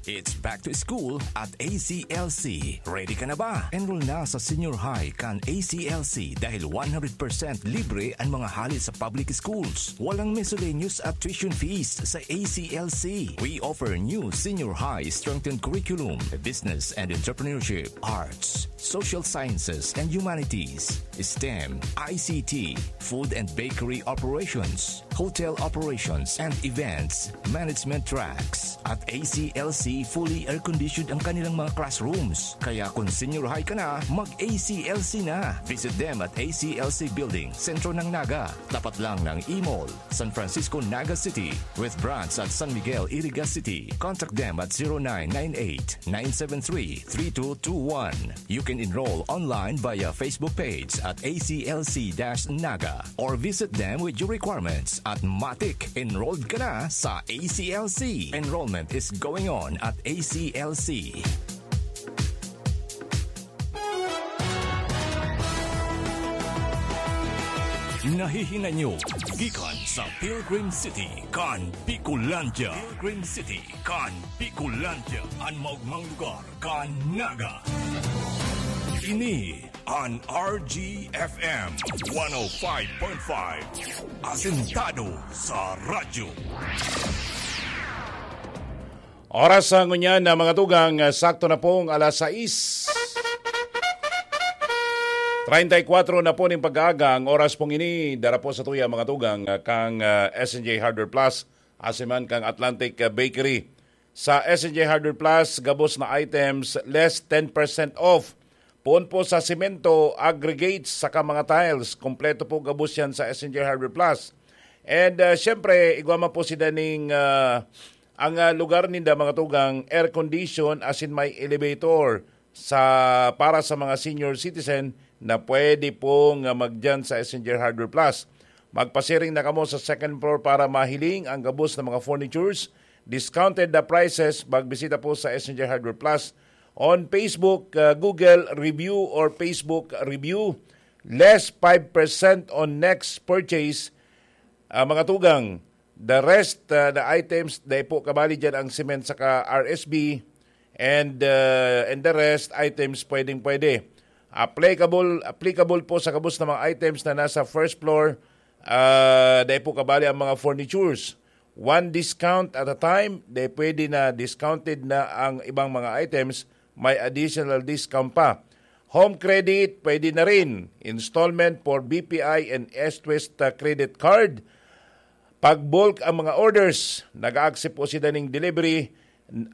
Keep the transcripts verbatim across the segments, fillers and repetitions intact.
It's back to school at A C L C. Ready ka na ba? Enroll na sa senior high kan A C L C dahil one hundred percent libre ang mga hali sa public schools. Walang miscellaneous at tuition fees sa A C L C. We offer new senior high strengthened curriculum, business and entrepreneurship, arts, social sciences and humanities, STEM, I C T, food and bakery operations, hotel operations and events management tracks. At A C L C, fully air-conditioned ang kanilang mga classrooms. Kaya kung senior high ka na, mag-A C L C na. Visit them at A C L C Building, sentro ng Naga. Tapat lang ng E-Mall, San Francisco, Naga City, with branch at San Miguel, Iriga City. Contact them at zero nine nine eight, nine seven three, three two two one. You can enroll online via Facebook page at A C L C dash Naga or visit them with your requirements at Matik. Enrolled ka na sa A C L C. Enrollment is going on at A C L C. Nahihinay nyo gikan sa Pilgrim City kan Bicolandia. Pilgrim City kan Bicolandia, an maogmang lugar kan Naga. Ini an R G F M one oh five point five, asentado sa radyo. Oras sa ngunyan na mga tugang, ah, sakto na pong alas sais. Treinta y cuatro na po ning pag-aaga ang oras pong ini. Dara po sa tuya mga tugang, ah, kang, ah, S N J Hardware Plus, asin man kang Atlantic, ah, Bakery. Sa S N J Hardware Plus, gabos na items, less ten percent off. Poon po sa semento, aggregates, saka mga tiles. Kompleto po gabos yan sa S N J Hardware Plus. And, ah, syempre, igwa man po si daning, ah, ang, ah, lugar ninda, mga tugang, air condition, asin may elevator sa, para sa mga senior citizen na pwede pong, ah, magdiyan sa S N J Hardware Plus. Magpasiring na kamo sa second floor para mahiling ang gabos na mga furnitures. Discounted na prices. Magbisita po sa S N J Hardware Plus on Facebook, ah, Google Review or Facebook Review. Less five percent on next purchase. Ah, mga tugang, the rest, ah, the items, dai po kabali dyan ang cement saka R S B, and, ah, and the rest items, pwedeng-pwede. Applicable, applicable po sa gabos na mga items na nasa first floor, ah, dai po kabali ang mga furnitures. One discount at a time, dai pwede na discounted na ang ibang mga items, may additional discount pa. Home credit, pwede na rin. Installment for B P I and S-Twist, ah, credit card. Pag bulk ang mga orders, nag-a-accept po sila ning delivery,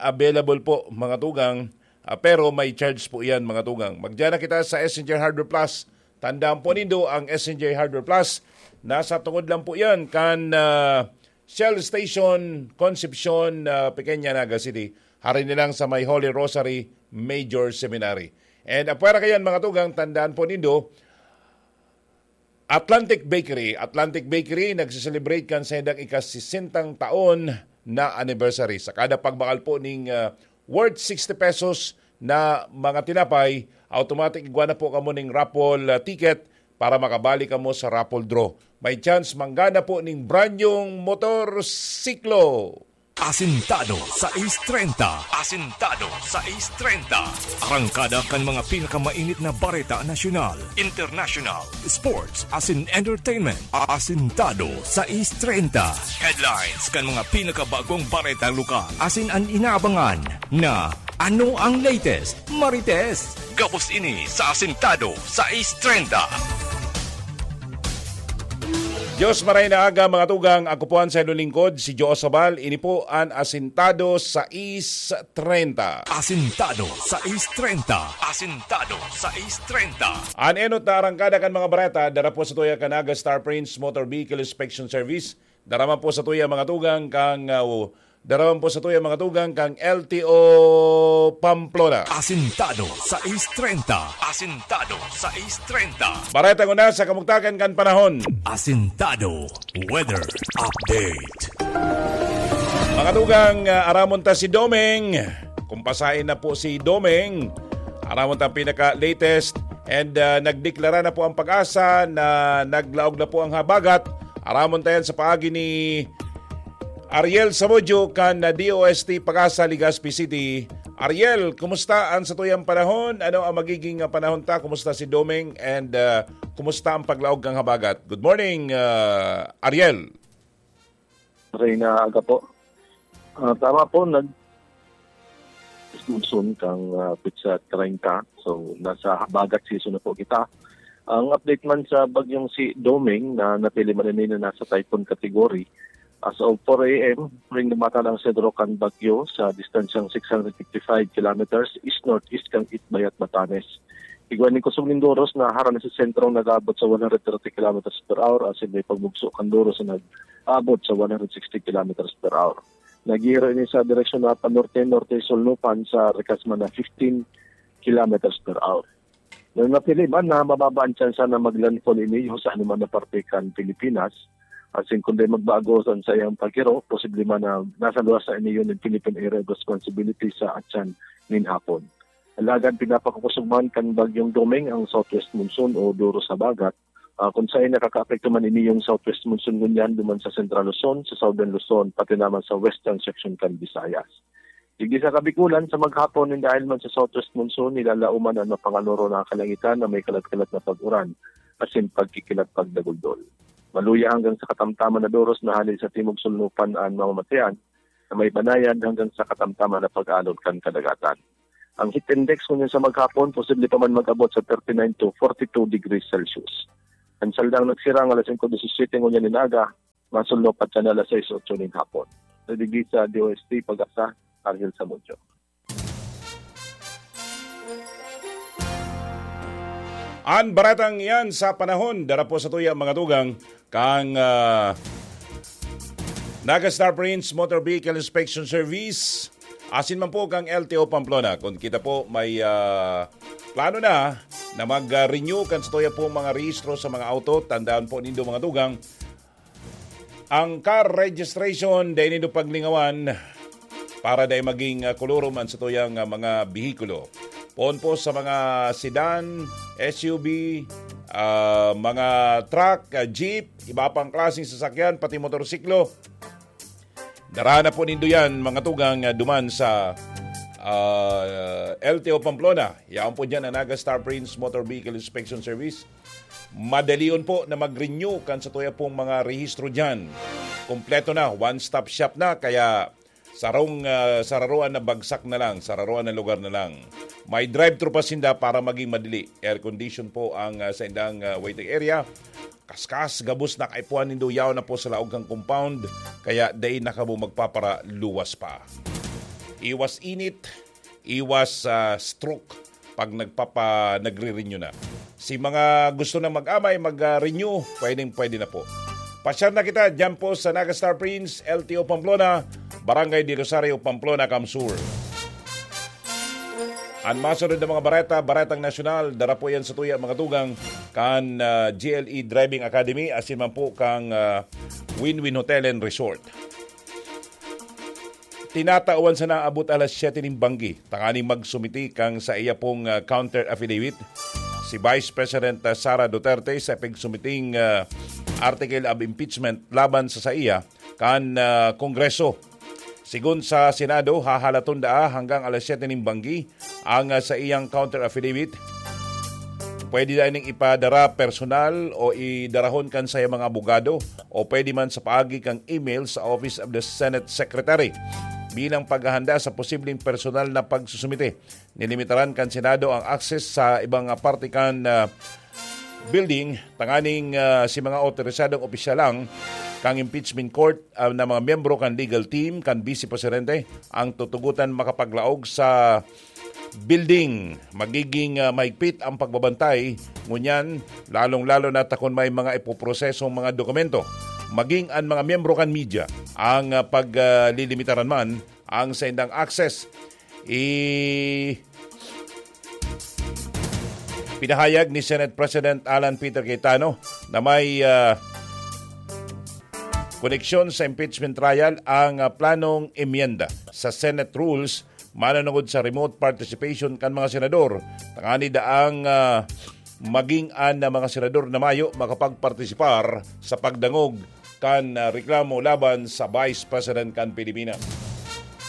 available po, mga tugang, ah, pero may charge po yan, mga tugang. Magdiyan na kita sa S N J Hardware Plus. Tandaan po nindo ang S N J Hardware Plus. Nasa tungod lang po yan kan, ah, Shell Station, Concepcion, ah, Pequeña, Naga City. Hari nilang sa may Holy Rosary Major Seminary. And apwera kayan, mga tugang, tandaan po nindo, Atlantic Bakery. Atlantic Bakery nagsiselebrate kan saindang ika-sesentang taon na anniversary. Sa kada pagbakal po ning, ah, worth sixty pesos na mga tinapay, automatic igwa na po kamo ning raffle, ah, ticket para makabali kamo sa raffle draw. May chance manggana po ning brand new motorsiklo. Asintado sais treinta. Asintado sais treinta. Arangkada kan mga pinakamainit na bareta nasyonal, international, sports, asin entertainment. Asintado sais treinta. Headlines kan mga pinakabagong bareta lokal. Asin an inaabangan na ano ang latest, Marites? Gabos ini sa Asintado sais treinta. Diyos maray na aga, mga tugang. Ako po ang sayo lingkod, si Joe Sabal. Ini po an Asintado sais treinta. Asintado sais treinta. Asintado sais treinta. An enot na arangkada kan mga bareta, dara po sa tuya kan Naga Star Prince Motor Vehicle Inspection Service. Dara man po sa tuya, mga tugang, kang, ah, dara man po sa tuya, mga tugang, kang L T O Pamplona. Asintado sais treinta. Asintado sais treinta. Bareta nguna sa kamugtakan kan panahon. Asintado weather update. Mga tugang, ah, aramon ta si Domeng. Kumpasain na po si Domeng. Aramon ta ang pinaka-latest. And, ah, nagdeklara na po ang PAGASA na naglaog na po ang habagat. Aramon ta yan sa paagi ni Ariel Samudio kan D O S T Pag-asa, Legazpi City. Ariel, kumusta ang satuyang panahon? Ano ang magiging, ah, panahon ta? Kumusta si Doming? And, ah, kumusta ang paglaog kan habagat? Good morning, ah, Ariel. Reyna, aga po. Ah, tama po, nag-, monsoon kang, ah, petsa treinta. So, nasa habagat season na po kita. Ang update man sa bagyong si Doming na natili man ini na nasa typhoon category, as of four a m, ring namatan ang sentro kan bagyo sa distansyang six hundred fifty-five kilometers east-northeast kan Itbayat, Batanes. Igwa ning kusog nin Doros na harani sa sentrong nag-aabot sa one hundred thirty kilometers per hour, asin may pagmugso kan Doros na nag-aabot sa one hundred sixty kilometers per hour. Naghihiro ini sa direksyon na panorte-norte, solnopan sa rikas man na fifteen kilometers per hour. Nanatili man na mababa ang tsansa na mag-landfall ini sa anuman na parte kan Pilipinas. Asin kun dai magbago sa saiyang paghiro, posible man na nasa luwas na ini yun ng Philippine Area of Responsibility sa atyan nin hapon. Alagad pinapakakusog man kan Bagyong Doming ang southwest monsoon o Doros sa habagat, ah, kun saen nakakaapekto man ini yung southwest monsoon ngunyan duman sa Central Luzon, sa Southern Luzon, pati naman sa western section kan Visayas. Digdi sa Kabikulan, sa maghapon, nin dahil man sa southwest monsoon, nilalauman an mapanganoro na kalangitan na may kalat-kalat na pag-uran, asin pagkikilat pagdaguldol. Maluya hanggang sa katamtaman na doros na hale sa timog sulnupan an mamamatean, na may banayad hanggang sa katamtaman na pag-alon kan kadagatan. Ang heat index ngunyan sa maghapon, posible pa man mag-abot sa thirty-nine to forty-two degrees Celsius. An saldang nagsirang alas singko disisiyete ngunyan nin aga, masulnupan siya na alas sais otso nin hapon. Sa digdi sa D O S T Pag-asa, Argel Samudio. An baretang iyan sa panahon, dara po sa tuya, mga tugang, kang, ah, Naga Star Prince Motor Vehicle Inspection Service, asin man po kang L T O Pamplona. Kung kita po may, ah, plano na na mag-renew kan sa tuya po mga rehistro sa mga auto, tandaan po nindo, mga tugang, ang car registration, dai nindo paglingawan para dai maging, ah, kolorom an satuyang, ah, mga behikulo. Poon po sa mga sedan, S U V, ah, mga truck, ah, jeep, iba pang klaseng sasakyan, pati motorsiklo. Dara na po nindo yan, mga tugang, ah, duman sa, ah, L T O Pamplona. Yaon po dyan ang Naga Star Prince Motor Vehicle Inspection Service. Madalion po na mag-renew kan sa tuya pong mga rehistro dyan. Kompleto na, one-stop shop na, kaya sarong, ah, sararuan na bagsak na lang, sararuan na lugar na lang. May drive-thru pa sinda para maging madali. Air condition po ang, ah, sa indang, ah, waiting area. Kaskas, gabos na kaipuhan nindo, yaon na po sa laog kang compound, kaya dai na kamo magpaparaluwas pa. Iwas init, iwas, ah, stroke pag nagpapa-, nagre-renew na. Si mga gusto na mag-amay, mag-renew, pwedeng-pwede na po. Pasyar na kita dyan po sa Naga Star Prince, L T O Pamplona, Barangay de Rosario, Pamplona, Camsur. An masunod na mga bareta, baretang nasyonal, dara po yan sa tuya, mga tugang, kan, ah, G L E Driving Academy, asin man po kang, ah, Win-Win Hotel and Resort. Tinatawan sana abot alas siyete nin banggi, tanganing magsumiti kang sa iya pong, ah, counter affidavit si Vice President, ah, Sara Duterte sa pagsumiting, ah, article of impeachment laban sa saiya kan, ah, Kongreso. Sigon sa Senado, hahalaton daa hanggang alas siyete nin banggi ang, ah, saiyang counter affidavit. Pwede daa ining ipadara personal o idarahon kan saiyang mga abogado o pwede man sa paagi kan email sa Office of the Senate Secretary. Bilang paghahanda sa posibleng personal na pagsusumite, nilimitaran kan Senado ang access sa ibang, ah, parte kan, ah, building, tanganing, ah, si mga otorisadong opisyal lang kan impeachment court, ah, na mga miyembro kan legal team kan Vice Presidente ang tutugotan makapaglaog sa building. Magiging, ah, mahigpit ang pagbabantay ngunyan, lalong-lalo na ta kun may mga ipoprosesong mga dokumento. Maging an mga miyembro kan media ang, ah, pag, ah, lilimitaran man ang saindang access. I-, pinahayag ni Senate President Alan Peter Cayetano na may, ah, koneksyon sa impeachment trial ang, ah, planong emyenda sa Senate rules mananungod sa remote participation kan mga senador, tangani daang, ah, maging an mga senador na mayo makapagpartisipar sa pagdangog kan ah, reklamo laban sa Vice President kan Pilipinas.